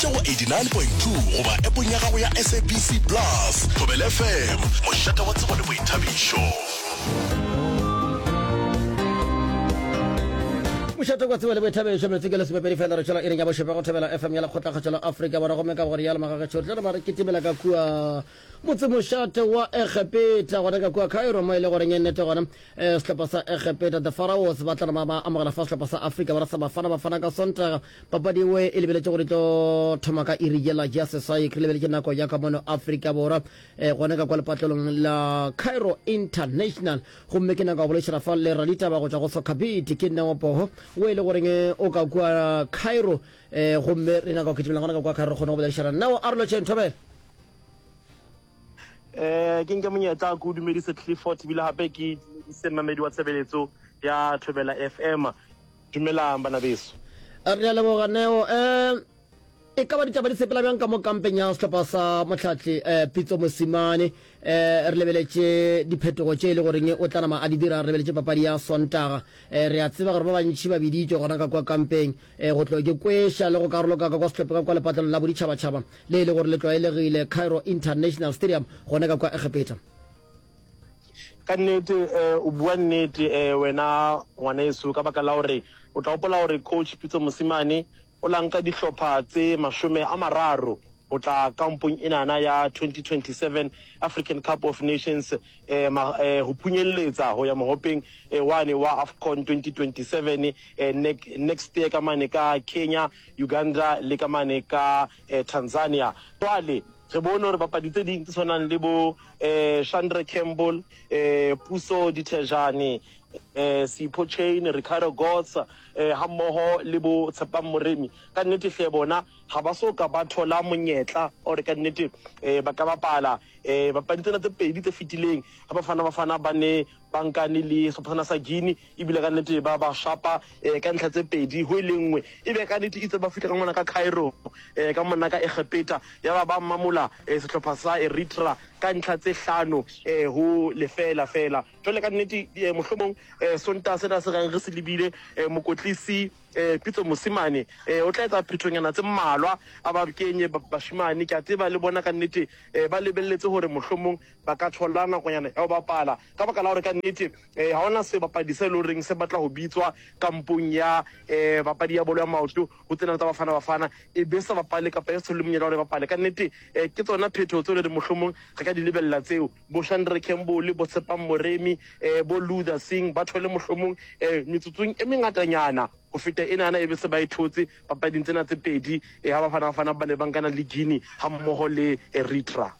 Theeletša go 89.2 goba appong ya gago ya SABC Plus. Thobela FM, mošate wa tsebo le boithabišo. Mošate wa tsebo le boithabišo, metsotso ke lesomepedi fela re tšwela iring ya bošupa go Thobela FM ya Lekgotlakgatšo la Afrika Borwa. Gomme ka go rialo magagešo re tlo re kitimela ka kua motsemošate wa Egepeta gona ka kua Cairo mo e le goreng e nnete gona eh, sehlopha sa Egepeta the Pharaohs ba tla ba amogela fa sehlopha sa Afrika Borwa sa Bafana Bafana ka Sontaga. Papadi ewe e lebeletše gore e tlo thoma ka iri yela ya seswai re lebeletše nako ya ka mono Afrika Borwa eh, gona ka kwa lepatlelong la Cairo International. Gomme ke nako ya go boledišana fa le raditaba go tšwa go Soccer Beat ke Neo Poho o e le goreng eh, o ka kua Cairo eh, gomme re nyaka go kitimela gona ka kua Cairo re kgone go boledišana. Neo a re lotšheng thobela. Eh, ke nke monyetla ke o dumedise Clifford ebile gape ke dumedise mmamedi wa tshebeletso ya Thobela FM. Dumelang bana beso. Re a leboga Neo. Um e ka ba ditaba di sepela bjang ka mo kampeng ya sehlopha sa Mohlatle um Pitso Mosimane? Um re lebeletše diphetogo tše e le goreng o tla nama a di dira, re lebeletše papadi ya Sontaga. Um re a tseba gore ba bantši ba biditšwe gona ka kwa kampeng um go tlo ke kweša le go karoloka ka kwa sehlopha ka kwa lepatlelong la boditšhabatšhaba le e le gore le tlwaelegile Cairo International Stadium gona ka kwa Egepeta. Ka nnete eh, o bua nnete eh, wena ngwaneso, ka baka la gore o tla gopola gore coach Pitso Mosimane o la nka dihlopha tse 30 go tla kampong enana ya 2027 African Cup of Nations eh, ma, eh, go phunyelletsa go ya mogopeng eh, wane wa AFCON 2027 eh, next year ka mane ka Kenya, Uganda le ka mane ka eh, Tanzania. Jwale re bone gore bapadi tse ding tse tshwanang le bo eh, Shandre Campbell, eh, Puso Dithejane, eh, Sipho Chain, Ricardo Goss eh, hammoho le bo Tshepang Moremi, ka nnete hle bona ga ba so ka ba thola monyetla gore ka nnete eh, ba ka bapala eh, bapadi tsena tse pedi tse fetileng ga Bafana Bafana ba ne ba nkane le sehlopha sena sa Guinea ebile ka nnete ba ba shapa eh, ka ntlha tse pedi ho e le nngwe. E be ka nnete itse ba fihla ka mona ka Cairo eh, ka mona ka Egepeta ya ba ba mamola eh, sehlopha sa Eritrea ka ntlha tse hlano eh, ho lefeela feela. Jwale ka nnete eh, mohlomong eh, Sontaha sena se reng re se lebile eh, mokotlisi eh, Pitso Mosimane eh, o tla etsa phethonyana tse mmalwa a ba kenye bashemane. Ke a tseba le bona ka nnete eh, ba lebelletse hore mohlomong ba ka thola nakonyana ya go bapala ka baka la gore ka nnete um ga ona sebapadi se e le goreng se batla go bitswa kampong ya um papadi ya bolo ya maoto go tsena tsa Bafana Bafana e be sa bapale kapa e sa thole monyetla gore e bapale. Ka nnete um ke tsona phetho tseo le re mohlomong re ka di lebelela tseo. Bo Shandre Campbell, bo Tshepang Moremi, um bo Luther Singh ba thole mohlomong um metsotsong e mengatanyana go feta enana e be se ba e thotse papading tsena tse pedi ga Bafana Bafana ba ne ba nkana le Guinea gammogo le Eritrea.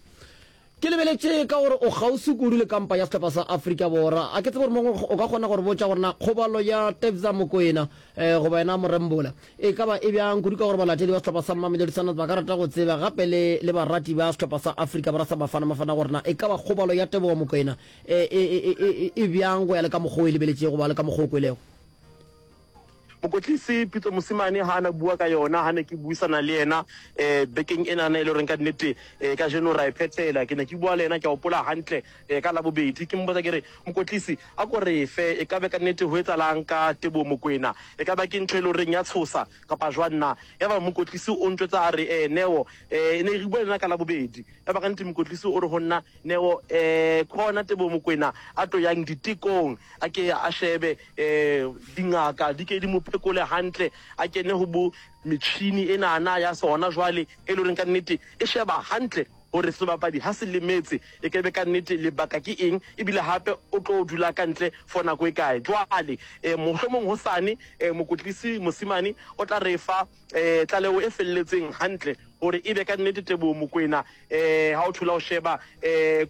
Ke lebeletše ka gore o kgauswi kudu le kampa ya sehlopha sa Afrika Borwa. A ke tsebe gore mongwe o ka kgona go re botša gore na kgobalo ya Tebza Mokoena eh, goba yena Morembola e ka ba e bjang kudu ka gore balatedi ba sehlopha sa Mamelodi Sundowns ba ka rata go tseba gape le le barati ba sehlopha sa Afrika Borwa sa Bafana Bafana gore na e ka ba kgobalo ya Tebogo Mokoena e, e, e, e, e bjang go ya le ka mokgwa o e lebeletšego goba le ka mokgwa o kwelego. Mokotlisi Pitso Mosimane ha na bua ka yona ha ne ke buisana le yena eh, bekeng enana e le goreng ka nnete eh, kajeno ra e phethela. Ke ne ke bua le yena ke a hopola hantle eh, ka Labobedi ke mmotsa ke re mokotlisi a ko re fe e ka be ka nnete ho etsalang ka Teboho Mokoena, e ka ba ke ntho e le goreng ya tshosa kapa jwang na? Ya ba mokotlisi o ntjwetsa a re eh, Neo eh, ne re bua le yena ka Labobedi ya ba ka nnete mokotlisi o re ho nna Neo eh, khona Teboho Mokoena a tlo yang ditekong A ke a shebe dingaka di ke di mo phekole hantle, a kene ho bo metjhini enana ya sona jwale e le horeng ka nnete e sheba hantle hore sebapadi ha se lemetse e ke be ka nnete lebaka ke eng, ebile hape o tlo dula ka ntle for nako e kae. Jwale mohlomong hosane mokotlisi Mosimane o tla re fa tlaleho e felletseng hantle hore ebe ka nnete Teboho Mokoena ha o thola o sheba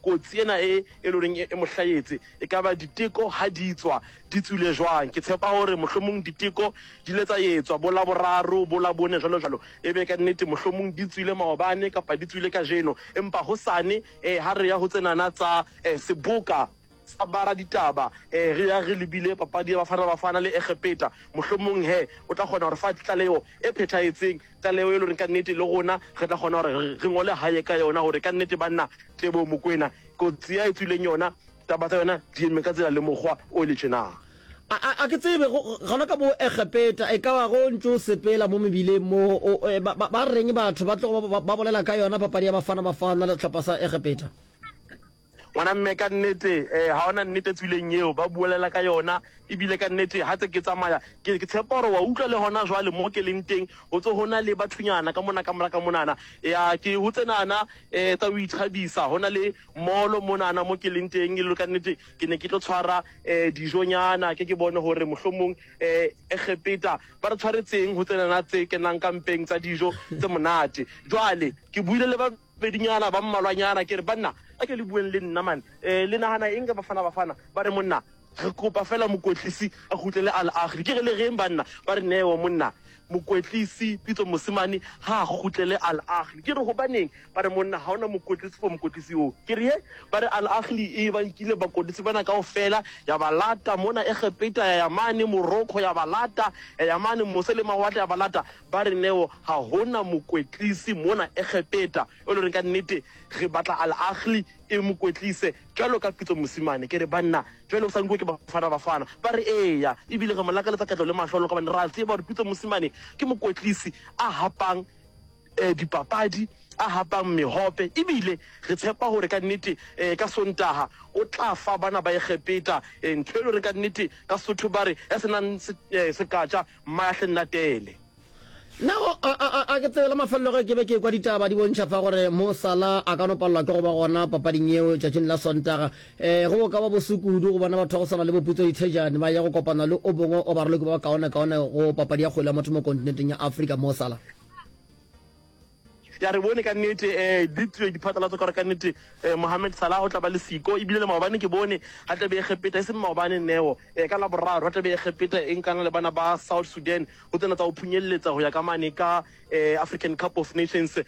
kotsi ena e e le horeng e mo hlahetse E ka ba diteko ha di tswa di tswile jwang? Ke tshepa hore mohlomong diteko di ile tsa etswa bo Laboraro, bo Labone jwalo jwalo. E be ka nnete mohlomong di tswile maobane kapa di tswile kajeno. Empa hosane eh, ha re ya ho tsenana tsa eh, seboka sa baraditaba eh, re ya re lebile papadi ya Bafana Bafana le Egepeta, mohlomong he o tla kgona hore fa tlaleho e phethahetseng, tlaleho e le horeng ka nnete le rona re tla kgona hore re ngole hae ka yona hore ka nnete banna Teboho Mokoena kotsi ya e tswileng yona, taba tsa yona di eme ka tsela le mokgwa o le tjena. A, a, a ke tsebe, go, gona ka bo Egepeta, e ka ba go ntše o sepela mo mebileng mo, o, e, ba, ba, ba reng batho ba tlogo ba, ba, ba bolela ka yona papadi ya Bafana Bafana le sehlopha sa Egepeta? Ngwana mme ka nnete eh, ga ona nnete tswileng eo ba buelela ka yona ebile ka nnete ha tse ke tsamaya ke ke tshepa gore wa utlwa le hona jwale mo ke leng teng ho tse hona le bathunyana ka mona ka mora ka monana ya ke ho tsenana eh tsa ho ithabisa hona le molo monana mo ke leng teng e le ka nnete Ke ne ke tlo tshwara um dijonyana, ke ke bone gore mohlomong um Egepeta ba re tshwaretseng ho tsenana tse kenang ka mpeng tsa dijo tse monate. Jwale ke buile le babedinyana ba mmalwanyana, ke re, Banna, a ke le bueng le nna man, um le nahana eng ka Bafana Bafana? Ba re, Monna, re kopa feela mokwetlisi a kgutlele Al Ahly. Ke re, Le reng banna? Ba re, Neo monna, mokwetlisi Pitso Mosimane ha a kgutlele Al Ahly. Ke re, Hobaneng? Ba re, Monna, ha o na mokwetlisi for mokwetlisi oo. Ke re, He? Ba re, Al Ahly e ba nkile bakwetlisi bana kaofela, ya ba lata mona Egepeta, ya ya mane Morocco, ya ba lata, ya ya mane mose le mawatle, ya ba lata. Ba re, Neo, ha ho na mokwetlisi mona Egepeta e le horeng ka nnete re batla Al Ahly e mo kwetlise jwalo ka Pitso Mosimane. Ke re, Banna, jwale o sa nkuwe ke Bafana Bafana? Ba re, Eya, ebile re mo lakaletsa katleho le mahlolo ka hobane re a tseba hore Pitso Mosimane ke mokwetlisi a hapang dipapadi, a hapang mehope, ebile re tshepa hore ka nnete ka Sontaha o tla fa bana ba Egepeta ntho e le hore ka nnete ka Sesotho ba re ya se nang sekatja mmahle nnatele. Nna go a, a, a, a ke tsebe la mafelelo ge ke be ke ekwa ditaba di bontšha fa gore Mo Salah a ka no palelwa ke go ba gona papading yeo tšatšing la Sontaga. E, go bo ka ba bose kudu go bona batho ba go swana le bo Putso Dithejane ba ya go kopana le o bongwe o baraloki ba bakaonekaone go papadi ya kgwele ya motho mo kontinenteng ya Afrika, Mo Salah. Ya re bone ka nnete um di tswe diphatlalatso ka gore ka nnete um Mohamed Salah o tla ba le siko ebile le maobane ke bone ga tlabe Egepeta e seng maobane neo um ka Laboraro ga tlabe Egepeta e nkana le bana ba South Sudan go tsena tsa go phunyelletsa go ya ka mane ka um African Cup of Nations um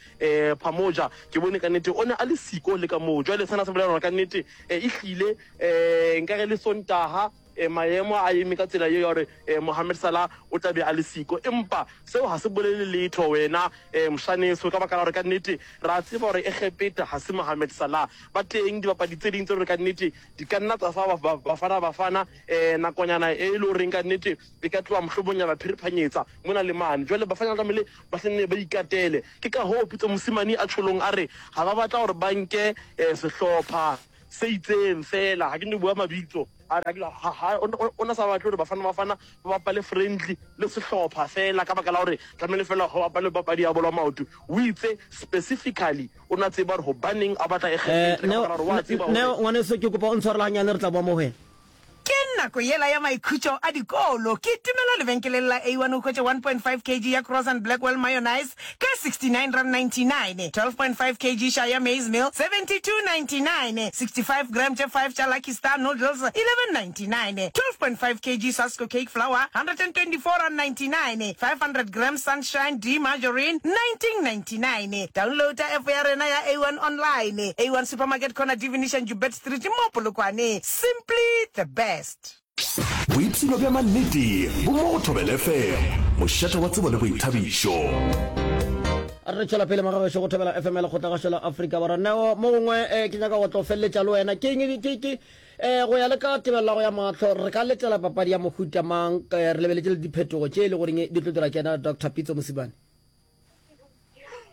Pamoja ke bone ka nnete o ne a le siko le ka moo jwale sena se bolela gore ka nnete um e hlile um nkare le Sontaga E, maemo a eme ka tsela ye ya gore e, Mohamed Salah o tla be a le siko, empa seo ga se bolele letho wena e, moshaneso, ka baka la gore ka nnete re a tseba gore Egepeta ga se Mohamed Salah. Ba teng dibapadi tse ding tse gore ka nnete di ka nna tsa fa Bafana Bafana e, nakonyana e le goreng ka nnete e ka tloga mohlomong ya ba phiriphanyetsa mona le mane. Jwale Bafana ba tlamehile ba se nne ba ikatele. Ke ka hoo Pitso Mosimane a tjholong a re ga ba batla gore ba nke e, sehlopha se itseng fela, ga ke no bua mabitso, a re o na sa batle gore Bafana Bafana ba bapale friendly le sehlopha fela ka baka la gore tlamehile fela go bapale papadi ya bolo ya maoto. O itse specifically o na tseba gore gobaneng a batla Egepeta ka baka la gore wa tseba gore. Neo, ngwaneso ke kopa o ntshwarele ganyane re tla boa mo go wena. Ke nako yela ya maikhutšo a dikolo. Kitimela lebenkeleng la A1 o hwetše 1.5 kg ya Cross and Blackwell mayonnaise ka R69.99, 12.5 kg Shire maize meal 72.99, 65 gram tše 5 tša Lucky Star noodles 11.99, 12.5 kg Sasko cake flour R124.99, 500 gram Sunshine D margarine 19.99. Downloada app ya rena ya A1 online. A1 Supermarket corner Divination Joubert Street mo Polokwane. Simply the best. Boipshino bja mannete bo mo go Thobela FM, mošate wa tsebo le boithabišo. Re tšwela pele magagešo go Thobela FM ya Lekgotlagašo la Afrika Borwa. Neo, mo gongwe eh, ke nyaka go tlo feleletša le wena. Ke eng ke ke eh, go ya le ka tebelelo ya mahlo re ka letela papadi ya mohuta mang eh, re lebeletše le diphetogo tše e le goreng di tlo dira ke yena Doctor Pitso Mosimane?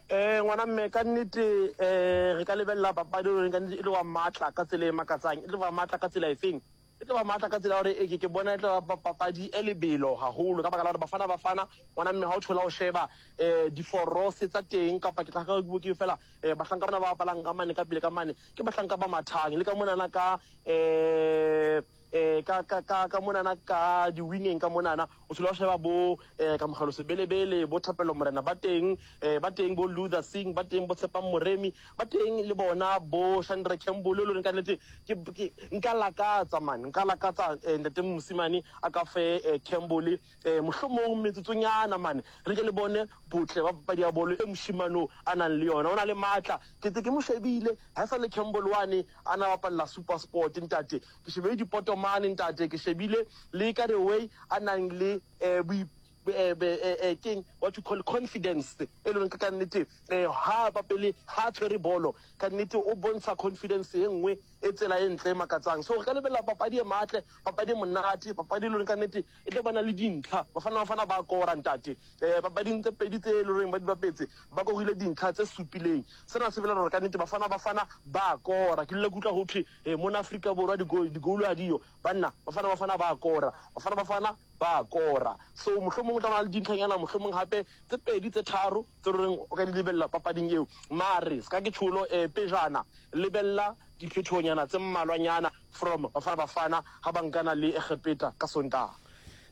Eh, ngwana mme ka nnete eh, re ka lebelela papadi e ka nnete e tlo ba matla ka tsela e makatsang. E tlo ba matla ka tsela efeng? E tlo ba matla ka tsela ya gore e ke ke bona e tlo ba papadi e lebelo haholo ka baka la gore Bafana Bafana ngwana mme ha o thola o sheba eh, diforose tsa teng kapa ke tla ka ke fela eh, bahlanka bana ba bapalang ka mane ka pele ka mane ke bahlanka ba mathang le ka monana ka eh eh, ka, ka, ka, ka monana ka di-wingeng ka monana o thola o sheba bo eh, Kamogelo Sebelebele, bo Thapelo Morena ba teng, eh, ba teng bo Luther Singh, ba teng bo Tshepang Moremi, ba teng le bona bo Shandre Campbell, e le goreng ka nnete ke, ke, nka lakatsa man, nka lakatsa eh, ntate Mosimane a ka fe eh, Campbell eh, mohlomong metsotsonyana man, re ke le bone botle ba papadi ya bolo e mošemane o a nang le yona, o na le matla, ke tse ke mo shebile ga e sa le Campbell wane a na bapalela SuperSport ntate, Ke shebile dipoto mane ntate, ke shebile le ka the way a nang le eh, boi. Keng what you call confidence e leng ka nnete ha bapele ha tshwere bolo ka nnete o bontsha confidence e nngwe e tsela e ntle e makatsang. So re ka lebelela papadi e matle, papadi e monate, papadi e leng ka nnete e tlo bana le dintlha. Bafana Bafana ba kora ntate. Papading tse pedi tse e loreng ba di bapetse ba korile dintlha tse supileng. Sena se bolela gore ka nnete Bafana Bafana ba kora. Ke dula ke utlwa ho thwe mona Afrika Borwa di-goal ha diyo. Banna, Bafana Bafana ba kora. Bafana Bafana ba kora. So mohlomong o tla ba le dintlhanyana mohlomong hape tse pedi tse tharo tse loreng o ka di lebelela papading eo. Mare ska ke tjholo pejana lebella diphetohonyana tse mmalwanyana from Bafana Bafana ha ba nkana le Egepeta ka Sontaha.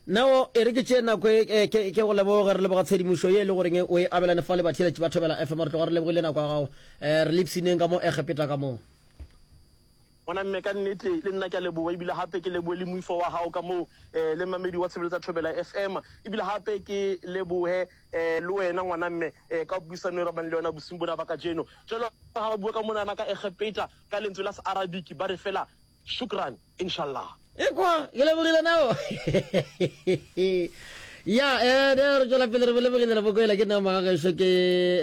Neo, e re ke tšee nako e ke ke go leboge, re leboga tshedimošo ye e le goreng o e abelane fa le batheeletši ba Thobela FM. Re tloga re lebogile nako ya gago. Re lipsineng ka mo Egepeta ka mo. Ngwana mme ka nnete le nna ke a leboga ebile gape ke leboge le moifo wa gago ka moo le mmamedi wa tshebeletso ya Thobela FM ebile gape ke leboge le wena ngwana mme ka puisano e re bang le yona bosing bona ba kajeno. Jalo ga ba bua ka monana ka Egepeta ka lentswe la se-Arabic ba re fela shukran inshallah. Ekwa, ke lebogile nao. Ya, eh, ne re tšwela pele re lebogile re bokoela ke nna magagešo ke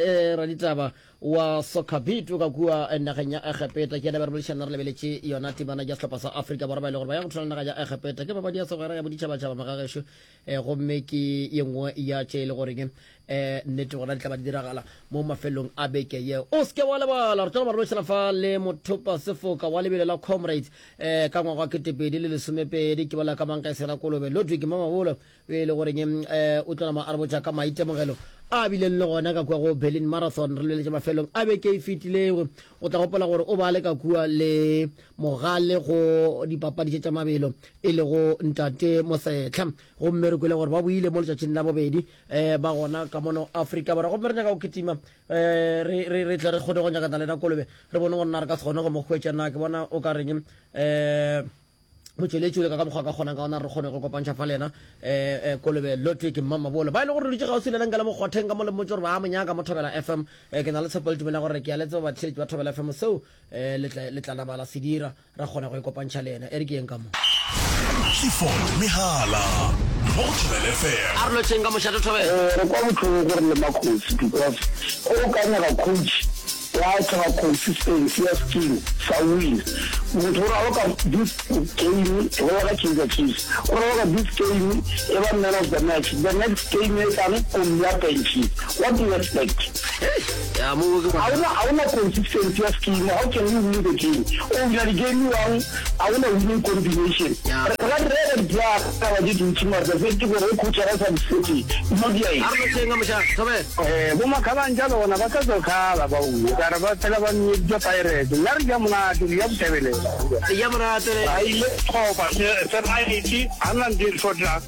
eh, raditaba wa Soccer Beat o ka kua eh, nageng ya Egepeta. Ke yena be re boledišana re lebeletše yona temana ya sehlopha sa Afrika Borwa ba e le gore ba ya go thula naga ya Egepeta. Ke papadi ya segwera ya boditšhabatšhaba magagešo eh, gomme ke ye nngwe ya tše e le goreng eh, nnete gona di tla ba di diragala mo mafelong a beke ye. O seke wa lebala re tlo ba re boledišana fa le mothopa sefoka wa lebelo la Comrades eh, ka ngwaga wa 2012 ke bolela ka Mankaisela Kolobe Ludwig Mamabolo e le goreng um o tlo nama a re botša ka maitemogelo a bileng le gona ka kua go Berlin Marathon re lebeletše mafelong a beke e fetilego. O tla gopola gore o ba le ka kua le mogale go dipapadi tše tša mabelo e lego Ntate Mosetlha, gomme re kwele gore ba boile mo letšatšing la bobedi um ba gona ka mono Afrika Borwa, gomme re nyaka go kitima um re, re, re tle re kgone go nyakana le na Kolobe re bone gore na re ka se kgone go mo hwetša na. Ke bona o ka reng um motšweletši o leka ka mokgwa a ka kgonang ka gona re kgone go kopantšha fa le yena um Kolobe Ludwig Mmamabolo ba e le gore re dutše kgauswi le yena nka le mokgotheng ka mo le mmotse gore ba mo nyaka mo Thobela FM. Um ke na le tshepo le tumelo ya gore ke a le tseba batheeletši ba Thobela FM seo um le tla nama la se dira ra kgona go ikopantšha le yena. E re ke yeng ka mo. Clifford Mehala mo go Thobela FM. A re lotšheng ka mošate Thobela. Re kwa bohloko gore le makgosi because ge o ka nyaka coach wa tlhoka consistency ya scheme sa win motho o raloka this game go ya ka Kaizer Chiefs o raloka this game e ba man of the match the next game e tlang o mmea benching what do you expect Ya mo ke ga ona ga ona consistency ya scheme how can you win the game o wina di game one ga ona winning combination re ka reka di-player taba tše dintši mara the fact ke gore ge coach a sa di sete no dia eng A re lotšheng ka mošate Thobela. Eh, bo makhabantša le gona ba sa tlo khala ba uwe ka re ba phela ba nyeditša Pirates nna re ja monate re ja bothebelela Le ja monate le. Ba ile kgopa se se right a nna ntho e hlotlang.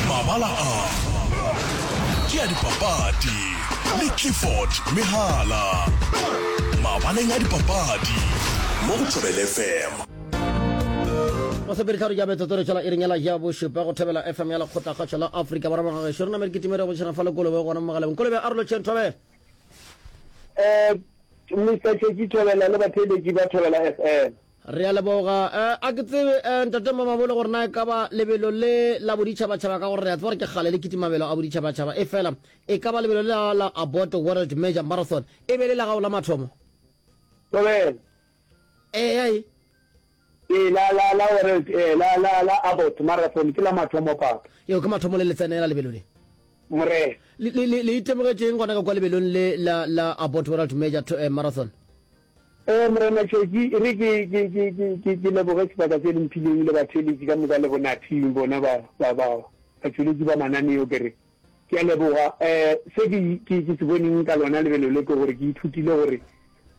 Mabala a ke a dipapadi le Clifford Mehala. Mabaleng a dipapadi mo go Thobela FM. Masomepeditharo ja metsotso re tšwela iring yela ya bošupa go Thobela FM ya Lekgotlakgašo la Afrika Borwa. Magagešo re namele kitimere go tšhena fa le Kolobe gona mo mogaleng. Kolobe a re lotšheng Thobela. Eh, Mister Tšetši Thobela le batheeletši ba Thobela FM. Re a leboga. Eh, a ke tsebe, eh, Ntate Mamabolo gore na e ka ba lebelo le la boditšhabatšhaba ka gore re a tseba gore ke kgale le kitimabelo a boditšhabatšhaba, efela e ka ba lebelo le la la Abbott World Major Marathon e be le la gago la mathomo? Thobela. Eya, e. Ee, la, la, la World, eh, la, la, la Abbott Marathon ke la mathomo, Papa. Yeo ke mathomo le le tsenela lebelo le. Morena. Le, le, le, le itemogetšeng gona ka kwa lebelong le la, la Abbott World Major eh, Marathon? Ee, Morena Tšhetši, e re ke, ke, ke, ke, ke, ke leboge sebaka se le mphileng le batheeletši ka moka le bonathing bona ba, ba, ba, batšweletši ba mananeo, ke re ke a leboga. Um se ke, ke, ke se boneng ka lona lebelo le ke gore ke ithutile gore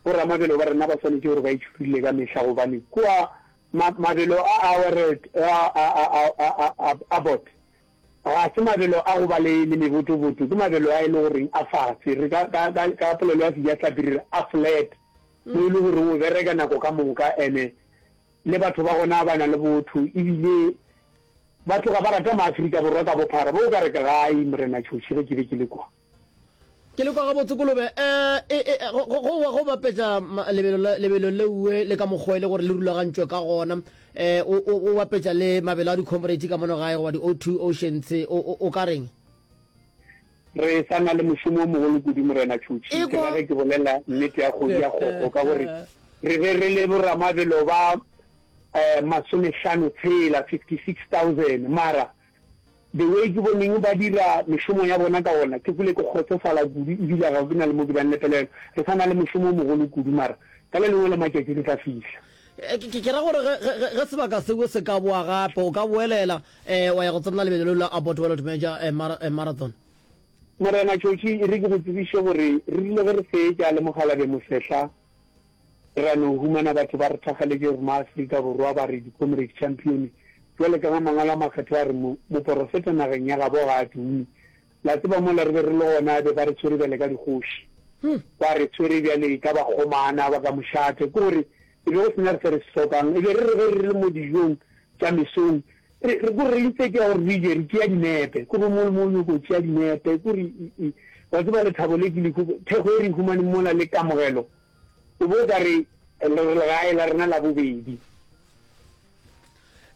boramabelo ba rena ba swanetše gore ba itšhurile ka mehla gobane kua ma, mabelo a a World, a, a, a, a, a, a, a, Abbott, Ga se mabelo a go ba le, le mebotoboto, ke mabelo a e le goreng a fase. Re ka, ka, ka, ka polelo ya Sejahlapi re re a flat, mo e le goreng o bereka nako ka moka ene le batho ba gona ba na le botho ebile ba tloga ba rata maAfrika Borwa ka bophara. Bo o ka re ke gae, Morena Tšhoši, ge ke be ke le kwa. Ke le kwa gabotse kolobe. E, e, e, go, go, go, go bapetša lebelo, lebelo leuwe le ka mokgwa e le gore le rulagantšwe ka gona. Um o, o, o bapetša le mabelo a di-comrades ka mono gae goba di-O2 Oceans, o, o, o ka reng? Re sa na le mošomo o mogolo kudu, Morena Tšhutšhi. Ke ra ge ke bolela nnete ya kgodu ya kgogo, ka gore re be re le boramabelo ba masomehlano tshela, 56,000, mara the way ke boneng ba dira mešomo ya bona ka gona, ke kwele ke kgotsofala kudu ebile ga ke na le mo ke bang le pelaelo. Re sa na le mošomo o mogolo kudu, mara ka le lengwe la matšatši re tla fihla. Ke ra gore ge sebaka seo se ka boa gape, o ka boelela wa ya go tsenela lebelo leo la Abbott World Major Marathon. Morena Tšhotšhi, e re ke go tsebiše gore re rile ge re fetša le Mokgalabje Mosehla, ra no humana batho ba re thakgaletše gore maAfrika Borwa ba re di-Comrade Champion. Bjale ka ge Mangwalo a Makgethwa a re mo, moporofeta nageng ya gabo ga a tume. La tseba mola re be re le gona be ba re tshwere bjale ka dikgoši. Ba re tshwere bjale ka bakgomana ba ka mošate. Ke gore e be go sena re se re se hlokang. E be re re ge re le mo dijong tša mesong, re, re ko re instead ya gore re je, re tšea dinepe. Ke gore mo le mo o nyoko tšea dinepe. Ke gore, wa tseba lethabo le ke le, thekgo e re e humaneng mola le kamogelo, O bo ka re re re legae la rena la bobedi.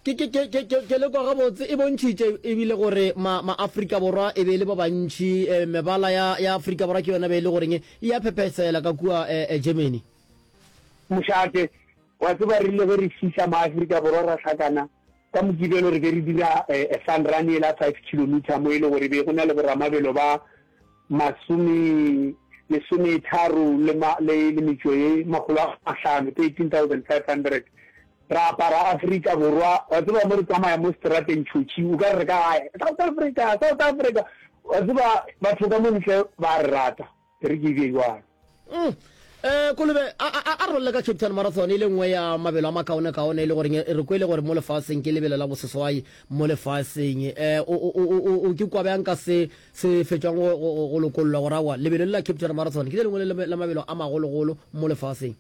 Ke, ke, ke, ke, ke, ke le kwa gabotse. E bontšhitše ebile gore ma, ma Afrika Borwa e be e le ba bantši. Eh, mebala ya, ya Afrika Borwa ke yona be e le goreng e a phephesela ka kua eh, eh, Germany. Mošate, wa tseba re rile ge re fihla ma Afrika Borwa ra hlakana ka Mokibelo re be re dira eh, eh, fun run yela five kilometer mo e le gore be go na le boramabelo ba masome lesometharo le, ma, le, le metšo ye makgolo a mahlano, 13,500. Ra apara Afrika Borwa, wa tseba mo re tsamaya mo seterateng tšhotšhi, o ka re re ka gae, South Africa, South Africa. Wa tseba batho ka mo ntle ba re rata, e re ke e bee bjalo. Mm. Eh, Kolobe, a, a, a re bolele ka Cape Town Marathon e le nngwe ya mabelo a makaonekaone e le goreng re kwele gore mo lefaseng ke lebelo la boseswai mo lefaseng. Eh, o, o, o, o, o ke kwa bjang ka se se fetšwang go, go, go lokollwa gore aowa lebelo le la Cape Town Marathon ke le lengwe le la mabelo a magologolo mo lefaseng?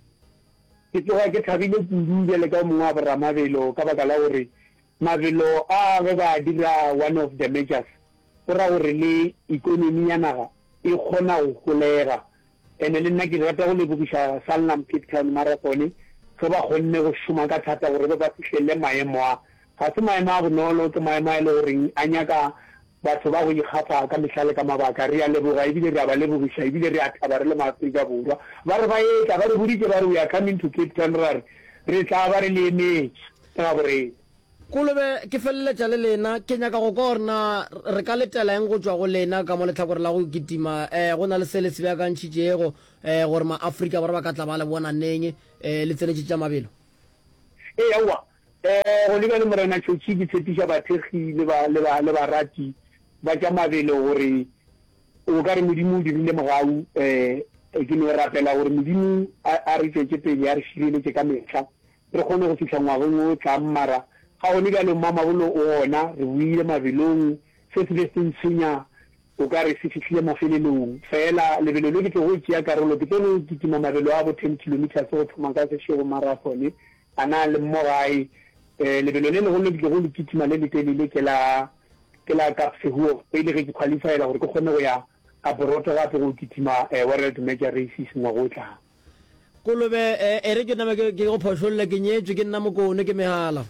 Ke tloga ke thabile kudu bjale ka o mongwe wa boramabelo ka baka la gore mabelo a ge ba a dira one of the majors go ra gore le ikonomi ya naga e kgona go holega. Ene le nna ke rata go lebogiša Sanlam Cape Town Marathon ge ba kgonne go šoma ka thata gore ba ba fihlelele maemo a. Ga se maemo a bonolo, ke maemo a e le goreng a nyaka batho ba go ikgafa ka mehla le ka mabaka. Re a leboga ebile re a ba lebogiša ebile re a thaba re le maAfrika Borwa. Ba re ba etla, ba re boditše ba re we are coming to Cape Town, ra re re tla ba re le emetše ka gaborena. Kolobe, ke feleletša le lena. Ke nyaka go kwa gore na re ka letela eng go tšwa go lena ka mo lehlakore la go kitima. Eh, go na le se le se beakantšhitšego, eh, gore ma-Afrika Borwa ba ka tla ba le bona neng, eh, le tsenetše tša mabelo? Ee, aowa. Eh, gone bjale, Morena Tšhotšhi, ke tshepiša bathekgi le ba, le ba, le barati ba tša mabelo gore o ka re Modimo o dirile mogau. Eh, ke no rapela gore Modimo a, a re tšwetše pele, a re šireletše ka mehla. re kgone go fihla ngwageng o tlang, mara ga gone bjalo Mmamabolo o gona, re boile mabelong, se se be se ntshwenya o ka re se fihlile mafelelong. Feela lebelo le ke tlogo tšea karolo, ke tlo no kitima mabelo a bo ten kilometres go thoma ka Seshego Marathon, a na le mo gae. Lebelo le legolo le ke tlogo le kitima le letelele ke la ke la Kaapsehoek, e le ge ke qualifyela gore ke kgone go ya abroad gape go kitima World Major Races ngwaga o tlang. Kolobe, e, e re ke name ke, ke go phošolle, ke nyetšwe, ke nna Mokone, ke Mehala.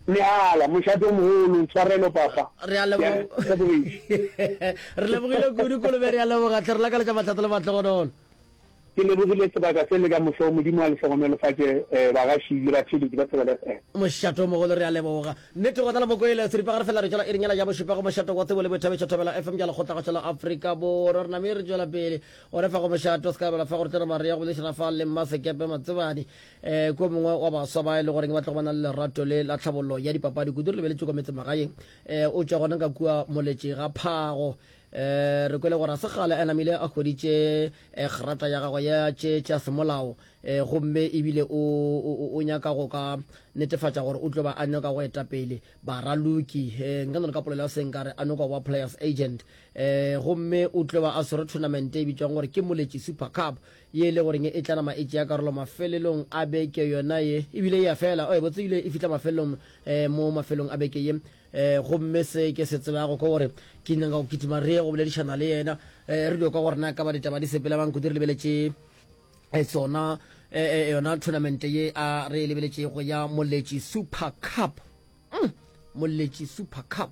Mehala, mošate o mogolo, tshwarelo papa. Re a leboga. Re lebogile kudu Kolobe, re a leboga hle, re lakaletša mahlatse le mahlogonolo. Ke lebogile sebaka se le ka moso, Modimo a le hlogonolofatše bagaši le batheeletši ba Thobela FM. Mošate o mogolo, re a leboga. Nnete gona le Mokwele, seripagare fela re tšwela iring yela ya bošupa go mošate wa tsebo le boithabišo Thobela FM ya Lekgotlakgašo la Afrika Borwa. Re name re tšwela pele. Gona fa go mošate o se ka bala fa gore tlere Maria go boledišana fa le Mmasekepe Matsebane um ko mongwe wa baswa ba e le goreng ba tlogo ba na le lerato le la tlhabollo ya dipapadi kudu re lebeletše kwa metsemagaeng um o tšwa gona ka kua moletše ga phago um re kwele gore a se kgale a namile a hweditše um grata ya gagwe ya tše tša semolao um gomme ebile o, o, o nyaka go ka netefatša gore o tlo ba a nyaka go eta pele baraloki um nka no re ka polelo ya seng ka re a nyaka go ba players agent um gomme o tlo ba a swere tournament e bitšwang gore ke Moletši Super Cup ye e le goreng e tla nama e tšea karolo mafelelong a beke yona ye ebile e ya fela e botse ebile e fihla mafelelong um mo mafelong a beke ye um gomme se ke se tsebago ke gore ke nyaka go kitima re ye go boledišana le yena um re dio kwa gore na ka ba ditaba di sepela bang kudu re lebeletše tsona. eh, yona tournament ye a re e lebeletšego ya Moletši Super Cup. Mm, Moletši Super Cup.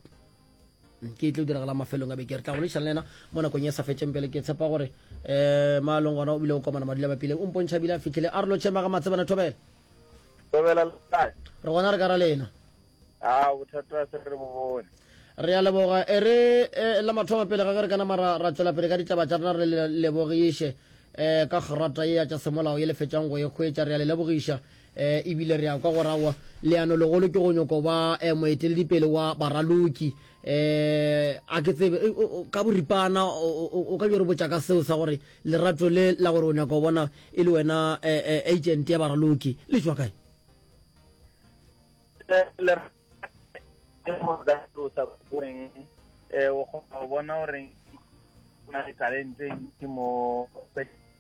Mm, ke e tlo diragala mafelong a beke. Re tla boledišana le yena mo nakong e sa fetšeng pele. Ke tshepa gore um maalong gona o bile o komana madula bapileng. O mpontšha bile a fihlile. A re lotšhe maga matsebana thobela. Thobela le kae? Re gona re ka ra lena. A bothata se re bo bone. Re a leboga. E re e, la mathomo pele ga ge re ka nama ra, ra tšwela pele ka ditaba tša rena re le lebogiše um ka grata ye ya tša semolao ye le fetšang go e hwetša. Re a le lebogiša um ebile re a kwa gore aowa leano legolo ke go nyoko ba um moeteledipele wa baraloki. Um a ke tsebe ka boripana o ka yo re botša ka seo sa gore lerato le la gore o nyaka go bona e le wena agent ya baraloki le tšwa kae? Goreng o kgona go bona gore o na le talente e ntši mo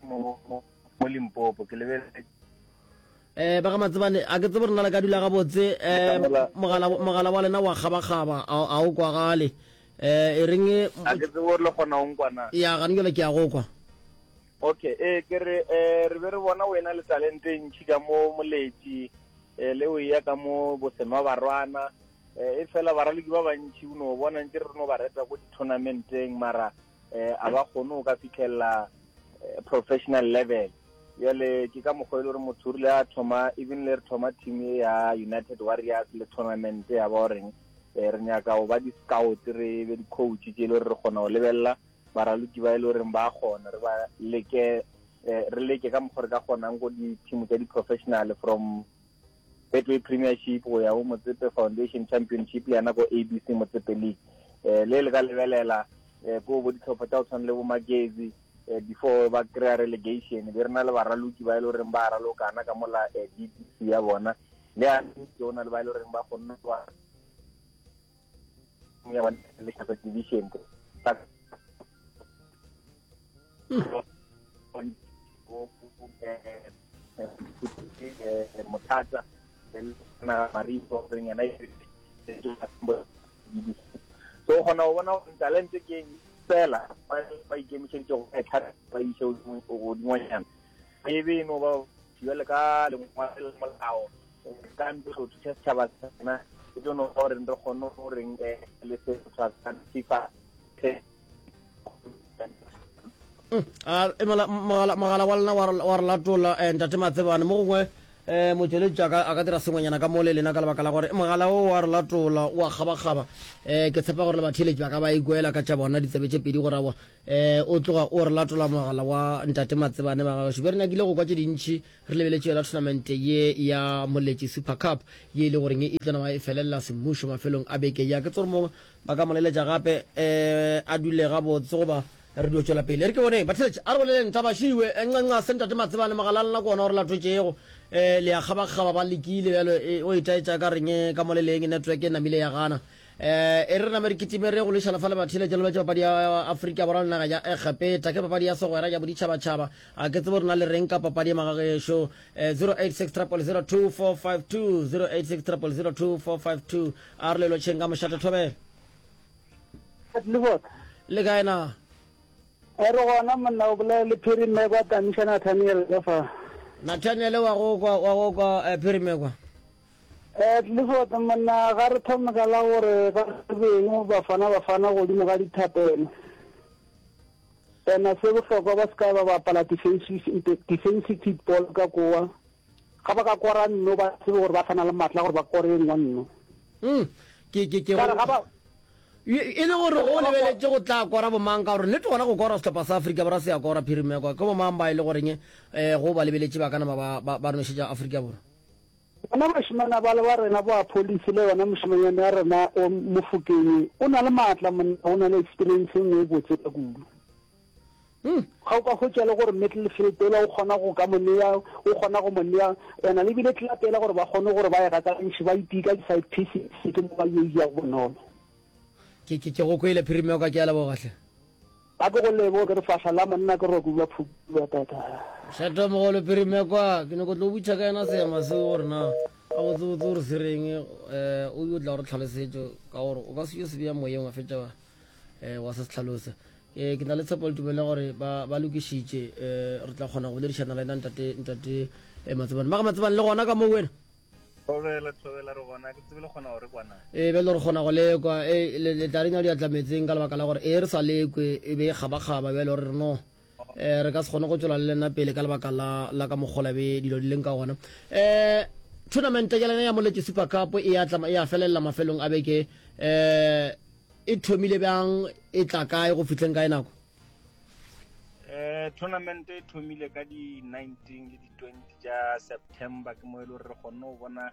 mo Limpopo ke lebeletse Eh ba ga Matsebane a ke tsebe rena le ka dula gabotse eh mogala mogala wa lena wa kgabakgaba a o kwagale eh e reng a ke tsebe gore le kgona go nkwa na ya gane jale ke a go kwa okay eh ke re eh re be re bona wena le talente e ntši ka mo moletši eh le o ya ka mo bosenwa barwana eh e fela baraloki ba bantši o no bona ntse re no ba reta ko di-tournamenteng mara eh a ba kgone go ka fitlhelela eh, professional level jale ke ka mokgwa e le gore motho o rile a thoma even le re thoma team e ya United Warriors le tournament ya ba goreng eh, re nyaka go ba di-scout re be di-coach tse e le gore re kgona go lebelela baraloki ba e le goreng ba kgona re ba leke eh, re leke ka mokgwa re ka kgonang ko di-team tsa di-professional from Betway Premiership go ya go Motsepe Foundation Championship le yana ko ABC Motsepe League eh le le ka lebelela eh ko bo ditlhopha tsa go tshwana le bo Magezi eh, before ba kry-a relegation be re na le baraloki ba e le goreng ba ralokana ka mola eh, DPC ya bona le a o na le ba e le goreng ba kgonne ba ya bona le division Mothata na Maripo goreng yena so o kgona go bona gore talente ke eng fela ba ikemišeditše go etlha ba iše godingwanyana e be e no ba jale ka lengwalo la molao ka ntlo go thuša setšhaba sa rena e tlo no ba gore re kgone goreng le se FIFA A, emela mogala mogala wa lena wa re- wa re latola eh, ntate Matsebane mo gongwe eh, motšweletši a ka a ka dira sengwenyana ka mo le lena ka lebaka la gore mogala o wa re latola o a kgabakgaba eh, ke tshepa gore le batheeletši ba ka ba ikwela ka tša bona ditsebe tše pedi gore aowa eh, o tloga o re latola mogala wa ntate Matsebane ba gagešo be re nyakile go kwa tše dintši re lebeletše yona tournament ye ya Moletši Super Cup ye e le goreng e tlo nama e felelela semmušo mafelong a beke ya ke tsore mongwe Ba ka mo leletša gape a dule gabotse goba re dio tšwela pele. E re ke boneng. Batheeletši, a re boleleng taba šiwe. Nxa-nxa se Ntate Matsebane mogala lena ke ona o re latotšego. Le a kgabakgaba ba lekile bjalo o itaetša ka reng ka mo le leng network e namile ya gana. E re re name re kitime re ye go lwešana fa le batheeletši re lebetše papadi ya Afrika Borwa le naga ya Egepeta. Ke papadi ya segwera ya boditšhabatšhaba. A ke tsebe gore na le reng ka papadi ye magagešo. 086 000 2452 086 000 2452 A re le lotšheng ka mošate thobela. Lebota. Le kae na? E re gona monna o bolela le Phiri Mmekwa Tamiša Nathaniel ka fa. Nathaniel wa go kwa wa go kwa eh, Phiri Mmekwa. Eh Clifford monna ga re thome ka la gore ba beng bafana bafana godimo ga dithapelo. Ena se bohlokwa ba se ka ba bapala defensive defensive ball ka kowa. Ga ba ka kora nno ba tsebe gore ba sa na le matla gore ba kore e nngwe nno. Mm, ke ke ke Ka re ga ba e le gore o lebeletše go tla kora bomang ka gore nnete gona go kora sehlopha sa Afrika Borwa se ya kora phirimekwa ke bomang ba e le goreng um go ba lebeletše ba ka nama ba ba ba nošetša Afrika Borwa. Bona bašemana bale ba rena bo Appollis le yona mošemanyana ya rena o Mofokeng o na le matla monna o na le experience e nngwe e botse ka kudu. Hmm. Ga o ka hwetša le gore middle field ela o kgona go ka mo nea, o kgona go mo nea, ena le bile club ela gore ba kgone gore ba e gakantšhe, ba itee ka di-side pieces, ke mo ba yo ijago bonolo. Ke, ke, ke go kwele Phirimeko, ke a leboga hle. Ga ke go leboge, ke re fahla la monna ke roke bja phupu bja tata. Mošate mogolo Phirimeko, ke nyako tlo butša ka yena seema seo gore na gabotsebotse gore se reng, um o yo tla gore tlhalosetšo ka gore o ka se yo se bea moyeng wa fetša wa um wa se se tlhalosa. Ke, ke na le tshepo le tumelo ya gore ba, ba lokišitše. Eh, re tla kgona go boledišana le yena ntate, ntate E Matsebane. Mara Matsebane le gona ka mo wena? Thobela, thobela re gona, ke tsebe le kgona go re kwana. E bjale re kgona go lekwa, e le le tla renya diatla metseng ka lebaka la gore e re sa lekwe e be e kgabakgaba bjale gore re no e re ka se kgone go tšwela le lena pele ka lebaka la la ka mokgola be dilo di leng ka gona. E tournament ya lena ya Moletši Super Cup e ya tla e ya felelela mafelong a beke e e thomile bjang e tla kae go fihleng kae nako? Eh, tournament e thomile ka di 19 le di 20 tša September ke mo e le gore re kgonne go bona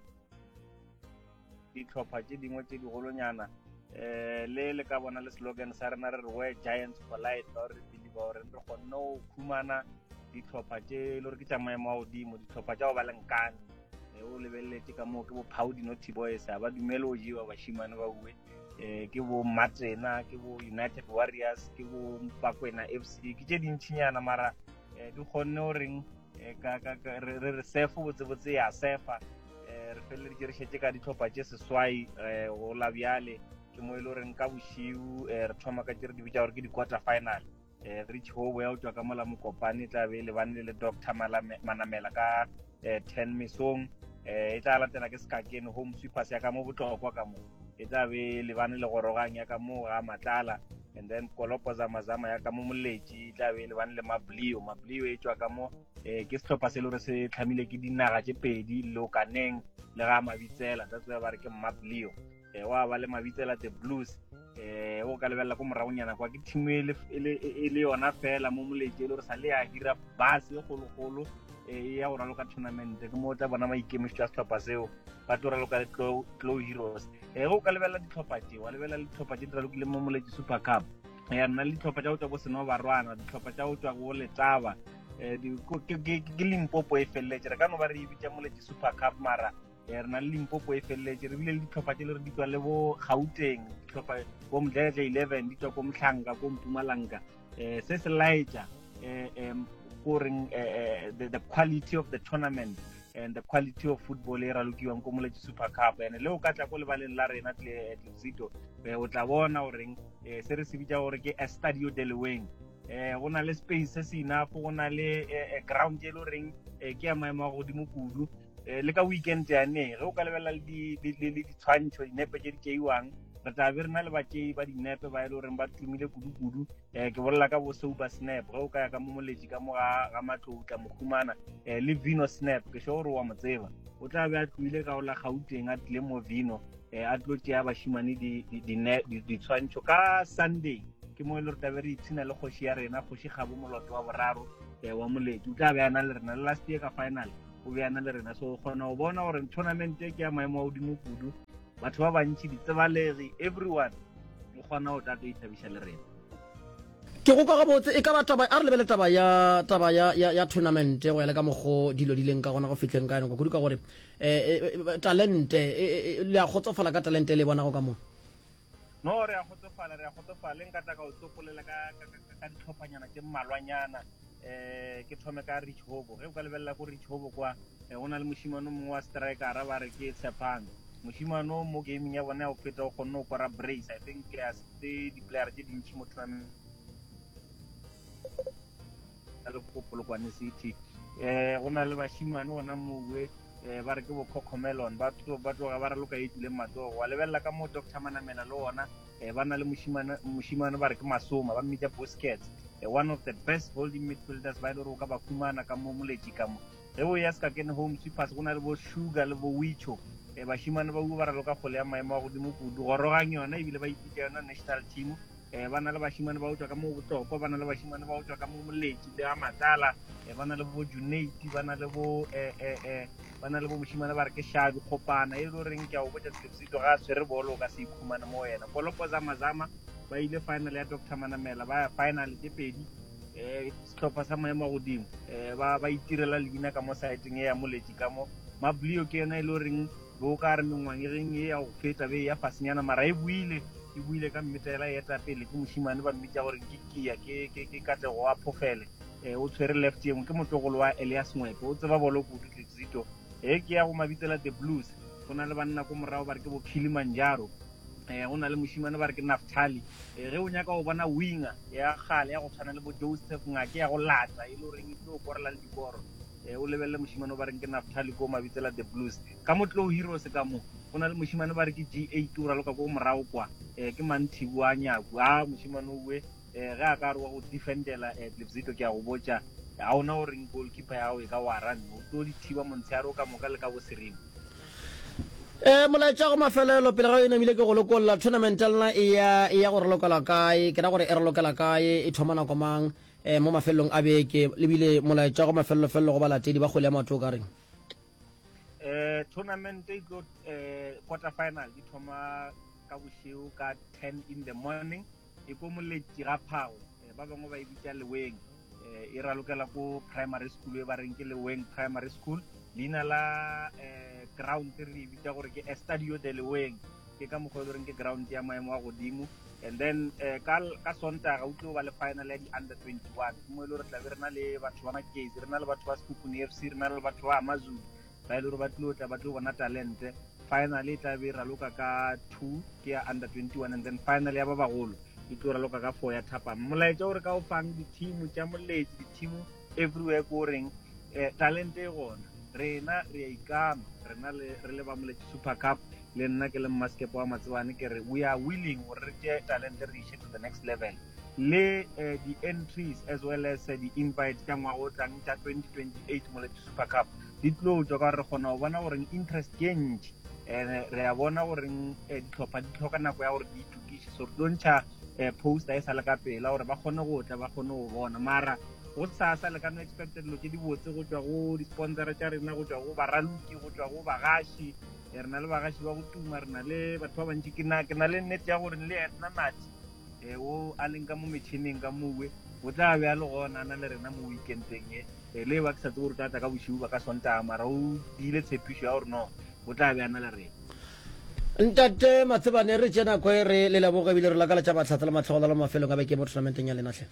ditlhopha tše dingwe tše digolonyana eh le le ka bona le slogan sa rena re re where giants collide ka gore re believe gore re kgonne go khumana ditlhopha tše e le gore ke tša maemo a godimo ditlhopha tša go ba le nkane eh, o lebeletse ka moo ke bo Paudi Naughty Boys a ba dumele go jewa bashimane ba uwe eh ke bo Matsena ke bo United Warriors ke bo Bakwena FC ke tše dintšhinyana mara eh, di kgonne o reng eh, ka ka re re sefo botse botse ya sefa eh, re feleleditše re šetše ka ditlhopha tše seswai eh, go la bjale ke mo e le goreng ka bošiu eh, re thoma ka tše re di bitša gore ke di-quarter final eh, rich hobo ya go tšwa ka mola mokopane e tla be e lebane le doctor manamela ka eh, 10 mesong eh, e tla latela ke sekakene home sweepers ya ka mo botlokwa ka mo e tla be e lebane le gorogang ya ka mo ga matlala and then kolopo zamazama ya ka mo moletši e tla be e lebane le mablio mablio e tšwa ka mo eh, ke sehlopha se le gore se tlhamile ke dinaga tše pedi lokaneng le ga mabitsela that's why ba re ke mablio eh, wa ba le mabitsela the blues eh o ka lebelela ko moragonyana kwa ke team e le e le e le yona fela mo moletše e le gore sa le ya hira bus e kgologolo e ya go raloka tournament ke mo o tla bona maikemišetšo a sehlopha seo ba tlo raloka le Glow Heroes eh o ka lebelela dihlopha tše wa lebelela dihlopha tše di ralokile mo moletše Super Cup ya nna le dihlopha tša go tšwa bo seno barwana dihlopha tša go tšwa go letaba eh ke Limpopo e feleletše re ka no ba re e bitša moletše Super Cup mara eh, re na le limpopo e feleletše re bile le ditlhopha tse le re di tswa le bo gauteng ditlhopha bo mdledle 11 di tswa ko mtlhanka ko mpumalanga um se se laetša um ko reng the, the quality of the tournament and the quality of football e ralokiwang ko moletši super cup and le o ka tla ko lebaleng la rena tlesito o tla bona goreng se re se bitša gore ke estadio deleweng eh go na le space se se enough go na le ground e le goreng ke ya maemo a godimo kudu eh, le ka weekend yane ge o ka lebelela le ditshwantšho dinepe tše di tšeiwang re tla be re na le batšei ba dinepe ba e le goreng ba tumile kudu-kudu um ke bolela ka bo sober snap ge o ka ya ka mo moletši ka mo ga matlou tla mo humana um le vino snap ke sure gore wa mo tseba o tla be a tloile ka ola gauteng a tlile mo vino um a tlo tšea bašimane ditshwantšho ka sunday ke mo e le gore tlabe re ipshina le kgoši ya rena kgoši gabo moloto wa boraro um wa moletši o tla be a na le rena le last year ka final o be a na le rena so o kgona go bona gore tournament e ke ya maemo a godimo kudu batho ba bantši ditsebalegi everyone o kgona go tla tlo ithabiša le rena ke go kwa gabotse e ka ba taba a re lebele taba ya taba ya ya, ya tournament go ya le ka mokgo dilo di leng ka gona go fihleng ka yona kudu ka gore eh, eh, talente eh, le a kgotsofala ka talente e le e bonago ka mo No, re a kgotsofala, re a kgotsofala. Nka tla ka o tsopolela ka, ka, ka, ka ditlhophanyana tše mmalwanyana. Eh, ke thome ka Rich Hobo. Ge o ka lebelela ko Rich Hobo kwa, eh, go na le mošemane o mongwe wa strikera ba re ke Tshepang. Mošemane o mo gaming ya bona ya go feta o kgonne go kora brace. I think ya se di-player tše dintši mo tournament le ko Polokwane City. Eh, go na le bašemane gona mowe eh, ba re ke bo Cocomelon ba ba tloga ba raloka e tswileng matsogo wa lebelela ka mo Doctor Manamela le ona eh, ba na le mošimane mošimane ba re ke Masoma ba mmitša Busquets eh, one of the best holding midfielders ba e le gore o ka ba humana ka mo moletši ka mo ge o ya Sekakene Home Sweepers go na le bo Sugar le bo Wicho eh, bašimane ba ba raloka kgole ya maemo a godimo kudu gorogang yona ebile ba ipitša yona national team eh, ba na le bašimane ba go tšwa ka mo botlokwa ba na le bašimane ba go tšwa ka mo moletši le ga matlala eh, ba na le bo junate ba na le bo eh, eh, eh, ba na le bo mošimane ba re ke shabi kgopana e le goreng ke a o botša selepsito ga a tshwere bolo o ka se ikhumane mo wena kolopo zamazama ba ile final ya doctor manamela ba ya final tše pedi um sehlopha sa maemo a godimo um ba ba itirela leina ka mo saeteng e ya moletši ka mo mablio ke yona e le goreng Be o ka re mengwageng ye ya go feta be e ya fasenyana, mara e boile, e boile ka mmetela e eta pele ke mošemane ba mmitša gore ke Kia, ke, ke, ke Katlego wa Phofele. E, o tshwere left ye nngwe, ke motlogolo wa Elias Ngwepe, o tseba bolo kudu Tlexito. E, ke ya go mabitsela The Blues, go na le banna ko morago ba re ke bo Kilimanjaro. E, go na le mošemane ba re ke Naftali. E, ge o nyaka go bona winger ya kgale ya go tshwana le bo Joseph Ngake ya go lata e le goreng e tlo korela le dikoro. Eh, o lebelele mošemane o ba reng ke Naftali ko Mabitsela the Blues. Ka mo Tlou Heroes ka mo, go na le mošemane ba re ke G8 o raloka ko morago kwa. Eh, ke Manthibu a Nyaku. A mošemane owe eh, ge a ka re wa go defendela eh, Tlipsito ke a go botša ga ona o reng goalkeeper ya gago e ka wara nne o tlo di thiba montshehare o ka moka le ka boseremo. E, molaetša go mafelelo pele ga e namile ke go lokolla tournament ya lena e ya e ya go ralokela kae ke ra gore e ralokela kae e thoma nako mang e, mo mafelelong a beke lebile molaetša go mafelelo-felelo go balatedi ba kgwele ya maoto o ka reng eh tournament e tlo eh quarter final di thoma ka bošego ka 10 in the morning e ko moletši ga phago eh, ba bangwe ba e bitša leweng eh, e ralokela ko primary school e ba reng ke leweng primary school leina la eh, ground re e bitša gore ke estadio de leweng ke ka mokgwa e le goreng ke ground ya maemo a godimo and then eh, ka ka sontaga o tlo ba le final ya di-under 21 ke mo e le gore tlabe re na le batho ba makezi re na le batho ba sekhukhune f c re na le batho ba amazulu ba e le gore ba tlo tla ba tlo bona talente final e tla be e raloka ka 2 ke ya under 21 and then final ya ba bagolo e tlo raloka ka 4 ya thapama molaetša o re ka o fang di-team tša moletši di-team everywhere ko reng eh, talente e gona rena re a ikama rena le re le ba moletši super cup le nna ke le mmaskepe wa matsebane ke re we are willing gore re tšee talente re iše to the next level le eh, di-entries as well as eh, di-invite tša ngwaga o tlang tša 2028 moletši super cup di tlo tšwa ka gore re kgona go bona gore interest ke e ntši and re a bona gore eh, ditlhopha di tlhoka nako ya gore di itokiše so re tlo ntšha eh, poster e sa le ka pela gore ba kgone go tla ba kgone go bona mara go sasa le ka no expecta dilo tše dibotse go tšwa go di-sponsora tša rena go tšwa go baraloki go tšwa go bagaši eh, re na le bagaši ba go tuma re na le batho ba bantši ke na le nnete ya gore le ena nathi um o a leng ka mo metšhineng ka mowe o tla be a le gona a na le rena mo weekendeng e eh, le ba ke sa tsebe gore o tla tla ka bošiu ba ka sontaga mara o diile tshepišo ya gore no o tla be a na le rena Ntate Matsebane re tše nako e re le leboge ebile re lakaletša mahlatse le matlhogonolo mafelong a beke mo tournamenteng ya lena hle.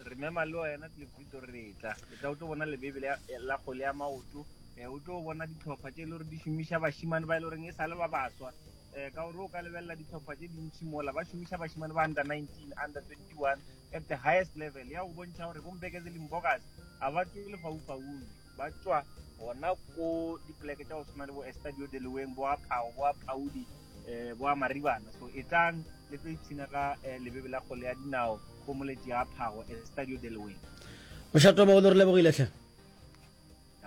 Re mema le wena Tlefito re tla e tla o tlo bona lebebe la kgwele ya maoto eh, o tlo bona ditlhopha tše e le gore di šomiša bašimane ba e le goreng e sa le ba baswa um ka gore o ka lebelela ditlhopha tše dintšhi mola ba šomiša bašimane ba under 19 under 21 at the highest level ya go bontšha gore bombekeze limbokas ga ba tšwe lefaufaung ba tšwa gona ko dipoleke tša go tshwana le bo estadio de leweng bo a phao bo a phaudi um bo a maribana so e tlang le tlo ipshina ka eh, lebebe la kgole ya dinao go moletši ga phago estadio de leweng mošato mogolo re lebogile tlhe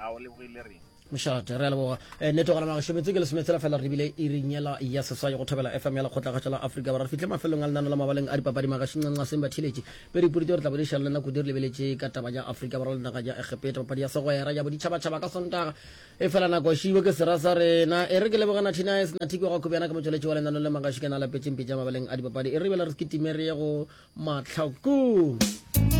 a o lebogile reng mošate re a leboga eh, nnete gona magašo metsotso ke lesometshela fela re bile iring yela ya seswai go thobela fm ya lekgotlakgatšo la afrika borwa re fihle mafelong a lenano la mabaleng a dipapadi magašo ncanqaseng batheeletši pedi pudi re tla bodiša le nna kudu re lebeletše ka taba ya afrika borwa le naga ya egepeta papadi ya segwera ya boditšhabatšhaba ka sontaga e fela nako šibo ke sera sa rena e re ke leboga nathinaes nathiko ga kobjana ke motšweletši wa lenano le magašo ke na lapetšeng pitša mabaleng a dipapadi e re bela re se kitime re ye go mahlakong.